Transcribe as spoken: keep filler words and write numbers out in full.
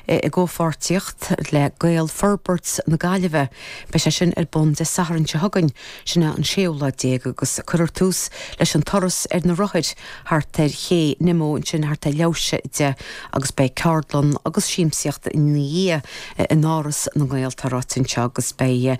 i gcomhpháirtíocht le Gaelfhorbairt na Gaillimhe. Beidh sé sin ar bun Dé Sathairn seo chugainn sin an séú lá déag agus cuirfear tús leis an turas ar na rothair thart ar ché Nimmo ansin thart ar leathuair tar éis a deich agus beidh ceardlann agus siamsaíocht ina dhiaidh in Áras na nGael tá ráite anseo agus beidh